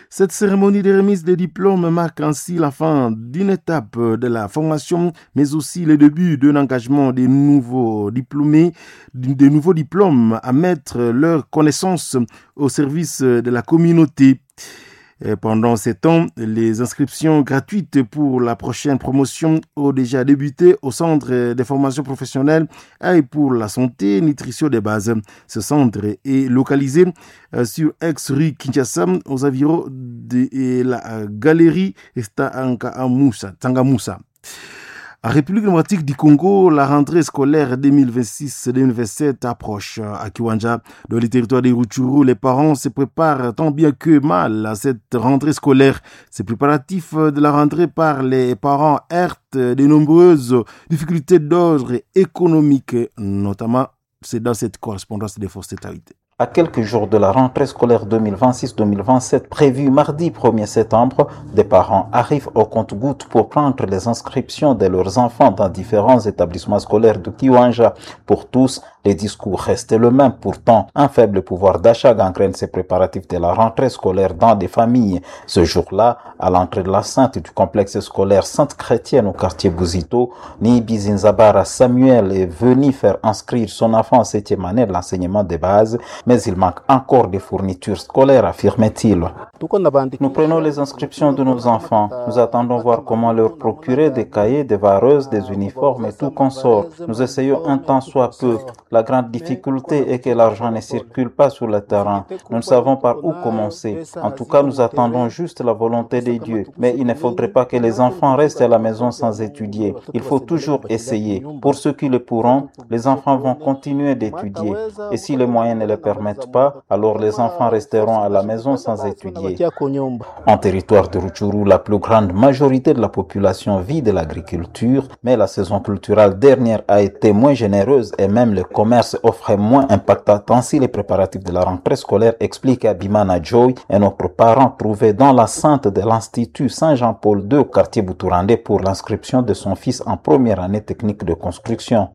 Cette cérémonie de remise des diplômes marque ainsi la fin d'une étape de la formation, mais aussi le début d'un engagement des nouveaux diplômés, des nouveaux diplômes à mettre leurs connaissances au service de la communauté. Et pendant ces temps, les inscriptions gratuites pour la prochaine promotion ont déjà débuté au centre des formations professionnelles et pour la santé nutrition des bases. Ce centre est localisé sur ex-rue Kinshasa, aux environs de la galerie Tsangamoussa. En République démocratique du Congo, la rentrée scolaire 2026-2027 approche. À Kiwanja, dans le territoire des Rutshuru, les parents se préparent tant bien que mal à cette rentrée scolaire. Ces préparatifs de la rentrée par les parents heurtent de nombreuses difficultés d'ordre économique, notamment c'est dans cette correspondance des forces Taïté. À quelques jours de la rentrée scolaire 2026-2027 prévue mardi 1er septembre, des parents arrivent au compte-gouttes pour prendre les inscriptions de leurs enfants dans différents établissements scolaires de Kiwanja. Pour tous, les discours restent le même. Pourtant, un faible pouvoir d'achat gangrène ces préparatifs de la rentrée scolaire dans des familles. Ce jour-là, à l'entrée de la Sainte du complexe scolaire Sainte Chrétienne au quartier Bouzito, Nibi Zinzabara Samuel est venu faire inscrire son enfant en septième année de l'enseignement des bases, mais il manque encore des fournitures scolaires, affirme-t-il. Nous prenons les inscriptions de nos enfants. Nous attendons voir comment leur procurer des cahiers, des vareuses, des uniformes et tout consort. Nous essayons un tant soit peu. La grande difficulté est que l'argent ne circule pas sur le terrain. Nous ne savons par où commencer. En tout cas, nous attendons juste la volonté de Dieu. Mais il ne faudrait pas que les enfants restent à la maison sans étudier. Il faut toujours essayer. Pour ceux qui le pourront, les enfants vont continuer d'étudier. Et si les moyens ne le permettent pas, alors les enfants resteront à la maison sans étudier. En territoire de Rutshuru, la plus grande majorité de la population vit de l'agriculture, mais la saison culturelle dernière a été moins généreuse et même le commerce offrait moins impactant. Ainsi, les préparatifs de la rentrée scolaire, explique Abimana Joy, un autre parent trouvé dans la sainte de l'Institut Saint-Jean-Paul II au quartier Boutourandé pour l'inscription de son fils en première année technique de construction.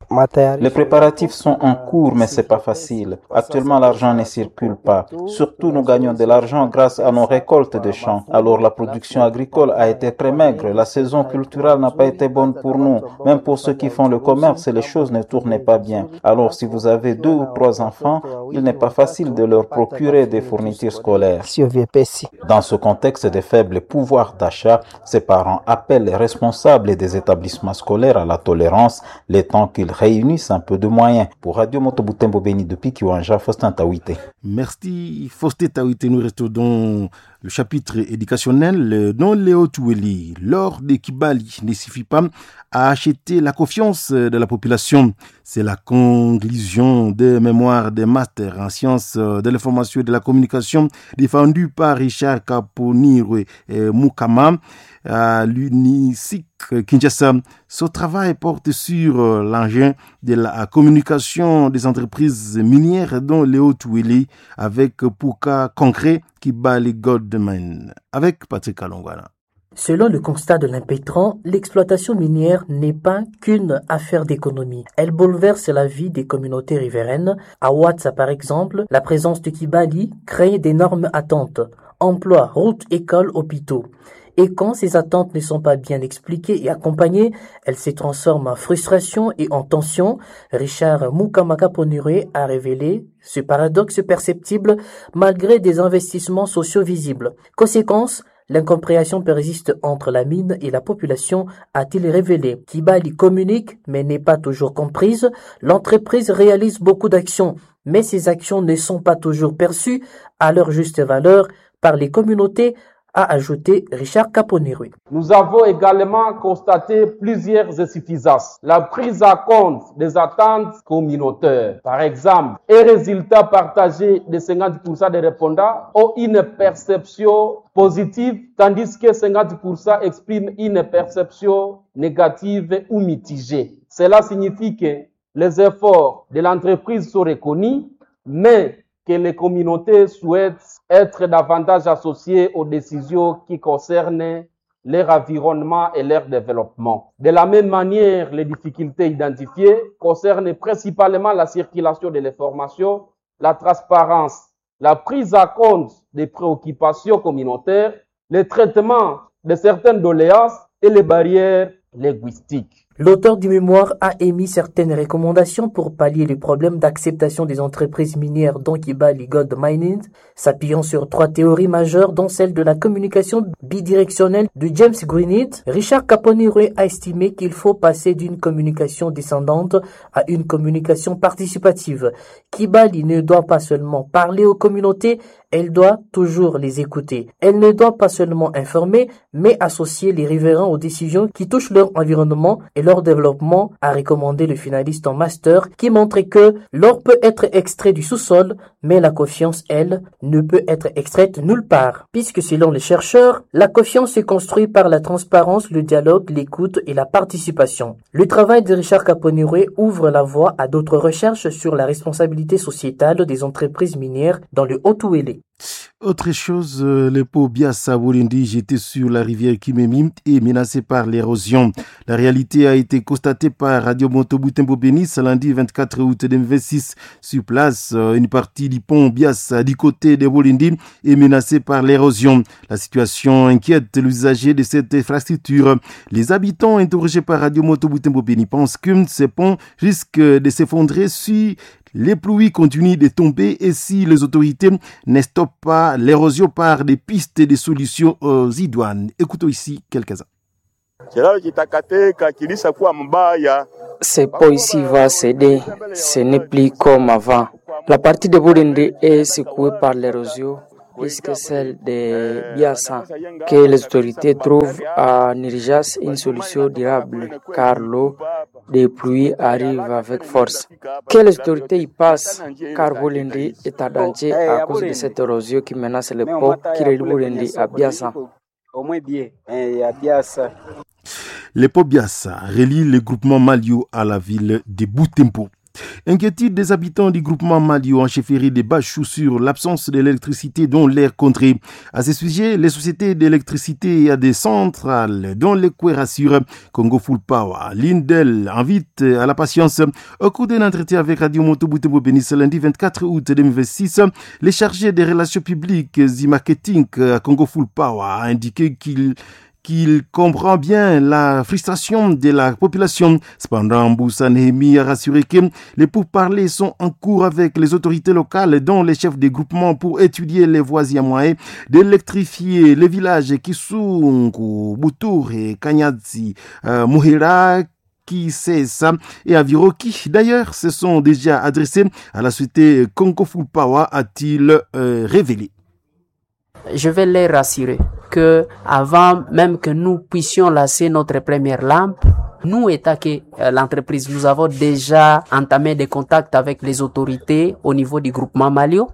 Les préparatifs sont en cours, mais c'est pas facile. Actuellement, l'argent ne circule pas. Surtout, nous gagnons de l'argent grâce à nos récoltes de champs. Alors, la production agricole a été très maigre. La saison culturelle n'a pas été bonne pour nous. Même pour ceux qui font le commerce, les choses ne tournaient pas bien. Alors, si vous avez 2 ou 3 enfants, il n'est pas facile de leur procurer des fournitures scolaires. Dans ce contexte de faible pouvoir d'achat, ces parents appellent les responsables des établissements scolaires à la tolérance, le temps qu'ils réunissent un peu de moyens. Pour Radio Moto Butembo Beni depuis Kiwanja, Faustin Tawite. Merci Faustin Tawite. Nous restons dans le chapitre éducationnel dans Léo Toueli. L'or de Kibali ne suffit pas à acheter la confiance de la population. C'est la conclusion des mémoires des masters en sciences de l'information et de la communication défendue par Richard Kaponirwe Mukama à l'UNISIC Kinshasa. Ce travail porte sur l'engin de la communication des entreprises minières dont Léo Toueli avec pour cas concret Kibali Goldman avec Patrick Alongwana. Selon le constat de l'impétrant, l'exploitation minière n'est pas qu'une affaire d'économie. Elle bouleverse la vie des communautés riveraines. À Watsa, par exemple, la présence de Kibali crée d'énormes attentes. Emplois, routes, écoles, hôpitaux. Et quand ces attentes ne sont pas bien expliquées et accompagnées, elles se transforment en frustration et en tension. Richard Mukamaka Ponuré a révélé ce paradoxe perceptible malgré des investissements sociaux visibles. Conséquence, l'incompréhension persiste entre la mine et la population, a-t-il révélé. Kibali communique, mais n'est pas toujours comprise. L'entreprise réalise beaucoup d'actions, mais ces actions ne sont pas toujours perçues à leur juste valeur par les communautés, a ajouté Richard Caponirui. Nous avons également constaté plusieurs insuffisances. La prise en compte des attentes communautaires, par exemple, et résultat partagé de 50% des répondants ont une perception positive, tandis que 50% expriment une perception négative ou mitigée. Cela signifie que les efforts de l'entreprise sont reconnus, mais que les communautés souhaitent être davantage associées aux décisions qui concernent leur environnement et leur développement. De la même manière, les difficultés identifiées concernent principalement la circulation de l'information, la transparence, la prise en compte des préoccupations communautaires, le traitement de certaines doléances et les barrières linguistiques. L'auteur du mémoire a émis certaines recommandations pour pallier les problèmes d'acceptation des entreprises minières dont Kibali Gold Mining, s'appuyant sur 3 théories majeures dont celle de la communication bidirectionnelle de James Greenhead. Richard Caponiré a estimé qu'il faut passer d'une communication descendante à une communication participative. Kibali ne doit pas seulement parler aux communautés, elle doit toujours les écouter. Elle ne doit pas seulement informer, mais associer les riverains aux décisions qui touchent leur environnement et leur développement, a recommandé le finaliste en master qui montrait que l'or peut être extrait du sous-sol, mais la confiance, elle, ne peut être extraite nulle part. Puisque selon les chercheurs, la confiance se construit par la transparence, le dialogue, l'écoute et la participation. Le travail de Richard Caponiré ouvre la voie à d'autres recherches sur la responsabilité sociétale des entreprises minières dans le Haut-Ouélé. Autre chose, le pont Biassa Burundi jeté sur la rivière Kimemi est menacé par l'érosion. La réalité a été constatée par Radio Moto Butembo Beni ce lundi 24 août 2026. Sur place, une partie du pont Biassa du côté de Burundi est menacée par l'érosion. La situation inquiète l'usager de cette infrastructure. Les habitants interrogés par Radio Moto Butembo Beni pensent que ce pont risque de s'effondrer si les pluies continuent de tomber et si les autorités ne stoppent pas l'érosion par des pistes de solutions aux idoines. Écoutons ici quelques-uns. Ce pont ici va céder, ce n'est plus comme avant. La partie de Burundi est secouée par l'érosion plus que celle de Biassa, que les autorités trouvent à urgence une solution durable, car l'eau des pluies arrive avec force. Que les autorités y passent, car Burundi est en danger à cause de cette érosion qui menace le pont qui relie Burundi à Biassa. Le pont Biassa relie le groupement Malio à la ville de Butembo. Inquiétude des habitants du groupement Malio en chefferie des Bachou sur l'absence d'électricité dans l'air contré. À ce sujet, les sociétés d'électricité à des centrales dont les rassurent Congo Full Power, Lindel invite à la patience. Au cours d'un entretien avec Radio Moto Butembo Beni ce lundi 24 août 2026, les chargés des relations publiques et marketing à Congo Full Power a indiqué qu'il comprend bien la frustration de la population. Cependant, Moussa Nehemi a rassuré que les pourparlers sont en cours avec les autorités locales, dont les chefs des groupements, pour étudier les voies et moyens d'électrifier les villages Kisungu, Boutour et Kanyadzi, Muhira, Kisesa et Aviroki. D'ailleurs, se sont déjà adressés à la société Congo Full Power, a-t-il révélé. Je vais les rassurer que avant même que nous puissions lancer notre première lampe, nous, étant que l'entreprise, nous avons déjà entamé des contacts avec les autorités au niveau du groupement Malio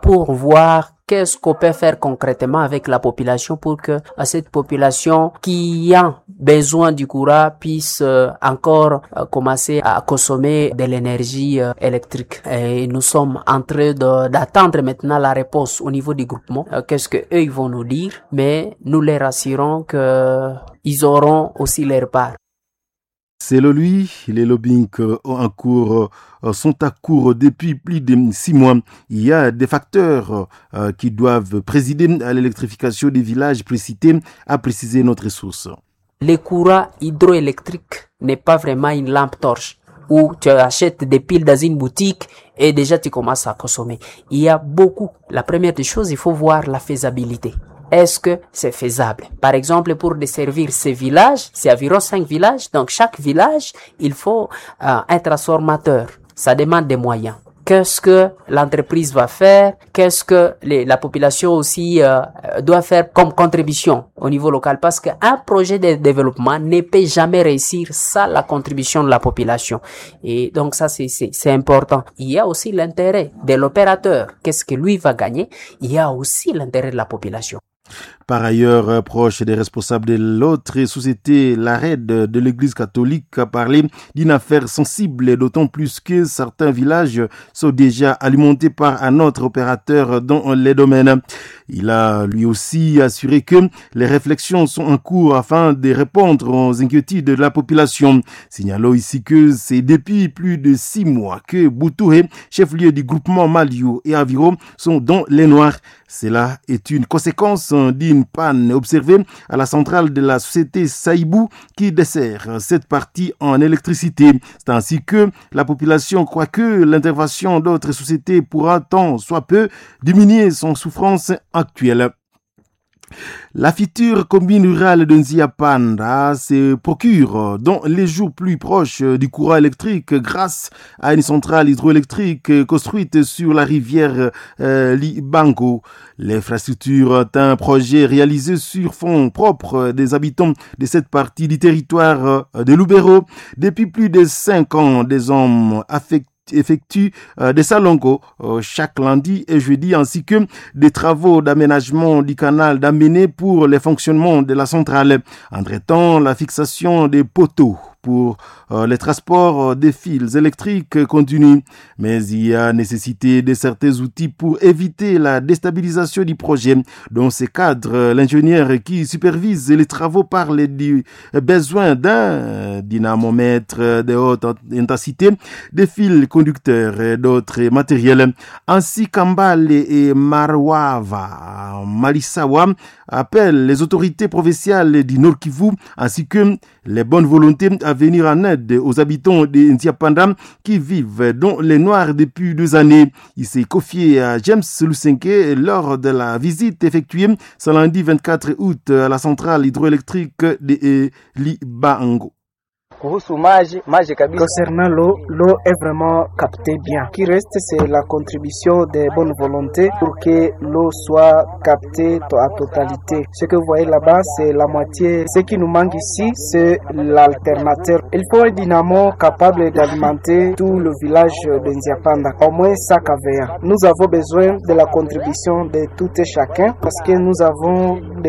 pour voir qu'est-ce qu'on peut faire concrètement avec la population pour que cette population qui a besoin du courant puisse encore commencer à consommer de l'énergie électrique. Et nous sommes en train d'attendre maintenant la réponse au niveau du groupement. Qu'est-ce que eux ils vont nous dire, mais nous les rassurons que ils auront aussi leur part. Selon lui, les lobbying en cours sont à court depuis plus de 6 mois. Il y a des facteurs qui doivent présider à l'électrification des villages précités, a précisé notre source. Le courant hydroélectrique n'est pas vraiment une lampe torche où tu achètes des piles dans une boutique et déjà tu commences à consommer. Il y a beaucoup. La première des choses, il faut voir la faisabilité. Est-ce que c'est faisable? Par exemple, pour desservir ces villages, c'est environ 5 villages. Donc, chaque village, il faut un transformateur. Ça demande des moyens. Qu'est-ce que l'entreprise va faire? Qu'est-ce que la population aussi doit faire comme contribution au niveau local? Parce qu'un projet de développement ne peut jamais réussir sans la contribution de la population. Et donc ça, c'est important. Il y a aussi l'intérêt de l'opérateur. Qu'est-ce que lui va gagner? Il y a aussi l'intérêt de la population. Par ailleurs, proche des responsables de l'autre société, l'arrêt de l'Église catholique a parlé d'une affaire sensible, d'autant plus que certains villages sont déjà alimentés par un autre opérateur dans les domaines. Il a lui aussi assuré que les réflexions sont en cours afin de répondre aux inquiétudes de la population. Signalons ici que c'est depuis plus de 6 mois que Boutoué, chef-lieu du groupement Malio et Aviro, sont dans les noirs. Cela est une conséquence d'une panne observée à la centrale de la société Saïbou qui dessert cette partie en électricité. C'est ainsi que la population croit que l'intervention d'autres sociétés pourra tant soit peu diminuer son souffrance actuelle. La future commune rurale de Nziapanda se procure dans les jours plus proches du courant électrique grâce à une centrale hydroélectrique construite sur la rivière Libango. L'infrastructure est un projet réalisé sur fonds propres des habitants de cette partie du territoire de Lubero. Depuis plus de 5 ans, des hommes affectés effectue des salongos chaque lundi et jeudi ainsi que des travaux d'aménagement du canal d'amener pour le fonctionnement de la centrale. Entre-temps, la fixation des poteaux pour les transports des fils électriques continue. Mais il y a nécessité de certains outils pour éviter la déstabilisation du projet. Dans ce cadre, l'ingénieur qui supervise les travaux parle du besoin d'un dynamomètre de haute intensité, des fils conducteurs et d'autres matériels. Ainsi, Kambale et Marwava Malisawa appellent les autorités provinciales du Nord Kivu ainsi que les bonnes volontés à venir en aide aux habitants de Nziapanda qui vivent dans les noirs depuis 2 années. Il s'est confié à James Lusenke lors de la visite effectuée ce lundi 24 août à la centrale hydroélectrique de Libango. Concernant l'eau, l'eau est vraiment captée bien. Ce qui reste, c'est la contribution des bonnes volontés pour que l'eau soit captée à totalité. Ce que vous voyez là-bas, c'est la moitié. Ce qui nous manque ici, c'est l'alternateur. Il faut un dynamo capable d'alimenter tout le village de Nziapanda, au moins 100 kVA. Nous avons besoin de la contribution de tout et chacun parce que nous avons des